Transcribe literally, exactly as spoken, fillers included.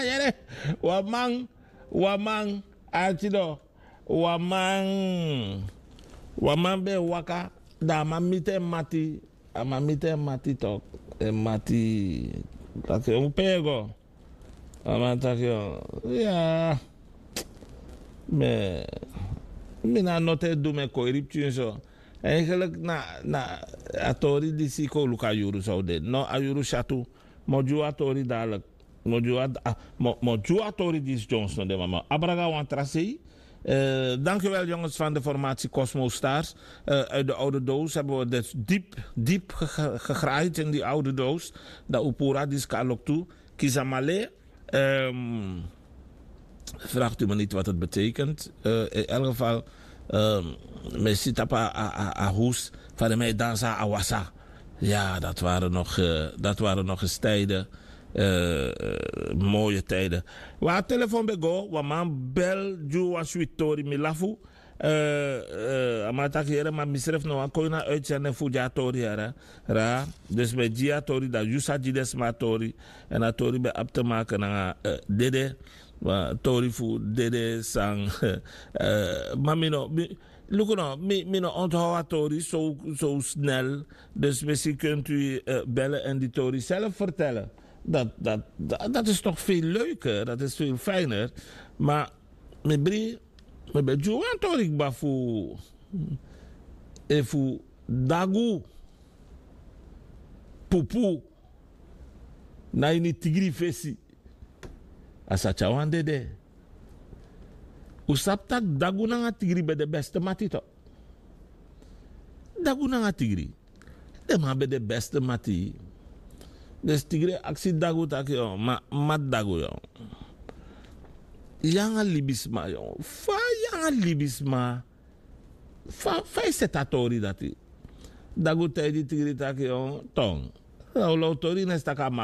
Yere, wan man, wan man, arkido, wan man, wan man ben e waka, dan a man miti en mati, a man miti en mati tok, en mati taki un pego. A man taki, ya, mi na note du mi e koiri pikin so. Eigenlijk na, na a tori disi kon luku a yuru san un de. No, a yuru syatu. Mi o gi un a tori dadilik. Mi o gi un a, a, mi o, mi o gi un a tori disi Jones no de mama. Abraga wan tra sei. Eh, dankjewel jongens van de formatie Cosmo Stars. Eh, uit de oude doos hebben we dus diep, diep ge- ge- gegraaid in die oude doos. Dan un puru a disi kon na loktu. Kisamale. Ehm, vraagt u me niet wat het betekent. Eh, in elk geval, ehm, mi e si tapu a, a, a, a hoes, fa den man e dansi a wasa. Ja, dat waren nog, eh, dat waren nog eens tijden. Eh, eh, mooie tijden. Wan telefoon ben go, wan man bel, gi wan switi tori, mi lafu. Eh, eh, a man taki, yere, ma misrefi no wani kon ini a uitzending fu gi a tori, yere. Ra, dus mi e gi a tori, dan yu sa gi den sma a tori. Èn a tori ben abi te maken nanga, eh, dede. Ma tori fu dede san, eh, ma mi no, mi, luku no, mi, mi no onthoud a tori zo, zo snel. Dus misschien kunt u, eh, bellen en die tori zelf vertellen. Dat, dat, dat, dat is toch veel leuker, dat is veel fijner. Maar mi bri, mi ben gi wan tori kba fu, efu dagu, pupu na ini tigri fesi, a sa tyari wan dede. Un sabi taki dagu nanga tigri ben de beste mati to. Dagu nanga tigri, den man ben de beste mati. Dus tigri e aksi dagu taki, yo, ma, mati dagu, yo, yu nanga libisma, yo, fa yu nanga libisma, fa, fa yu seti a tori dati? Dagu taigi tigri taki, yo, ton, lawlaw tori na e si taki a man